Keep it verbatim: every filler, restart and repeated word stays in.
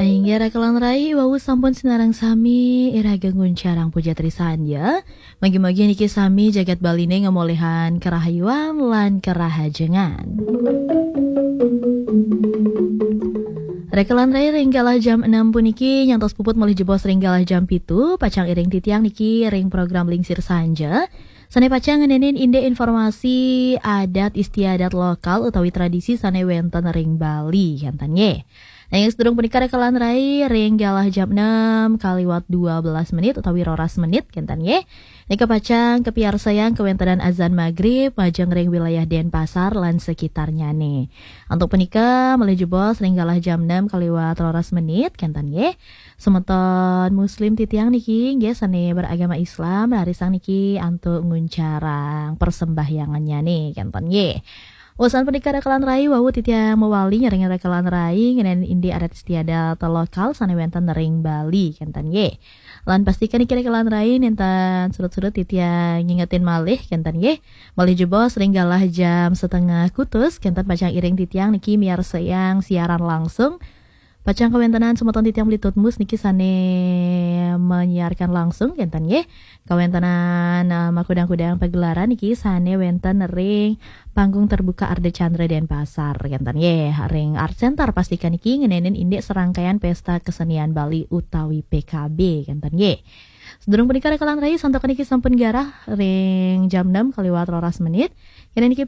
Inggih raka lan rai, wau sampun sinareng sami iraga nguncarang puja trisandya. Mugi-mugi niki sami jagat Baliné ngamoléhan karahayuan lan karahajengan. Raka lan rai, ring galah jam enam puniki nyantos puput malih jebos ring galah jam pitu, pacang iring titiang niki ring program Lingsir Sanja. Sané pacang ngenénin indik informasi adat istiadat lokal utawi tradisi sané wénten ring Bali, kénten nggih. Nanging sadurung punika raka lan rai, ring galah jam enam kaliwat dua belas menit utawi roras menit, kénten nggih. Nika pacang kapiarsayang kawéntenan azan magrib majeng ring wilayah Denpasar lan sekitarnyané. Antuk punika malih jebos ring galah jam enam kaliwat roras menit, kénten nggih. Semeton muslim titiang niki nggih sané beragama Islam, rarisang niki antuk nguncarang persembahyangannya nih, kénten nggih. Usan punika raka lan rai, wau titiang mawali nyarengin raka lan rai ngenénin indik adat istiadat lokal sané wénten ring Bali, kénten nggih. Lan pastikan niki raka lan rai nénten surut-surut titiang ngingetin malih, kénten nggih. Malih jebos ring galah jam setengah kutus, kénten pacang iring titiang niki miarsayang siaran langsung. Pacang kawéntenan semeton titiang Beli Tutmus niki sané menyiarkan langsung, kénten nggih. Kawéntenan, eh, makudang-kudang pagelaran niki sané wénten ring Panggung Terbuka Ardha Candra Denpasar, kénten nggih. Ring Art Center pastikan niki ngenénin indik serangkaian Pesta Kesenian Bali utawi P K B, kénten nggih. Sadurung punika raka lan rai, santukan niki sampun garah ring jam enam kaliwat roras menit. Kéné niki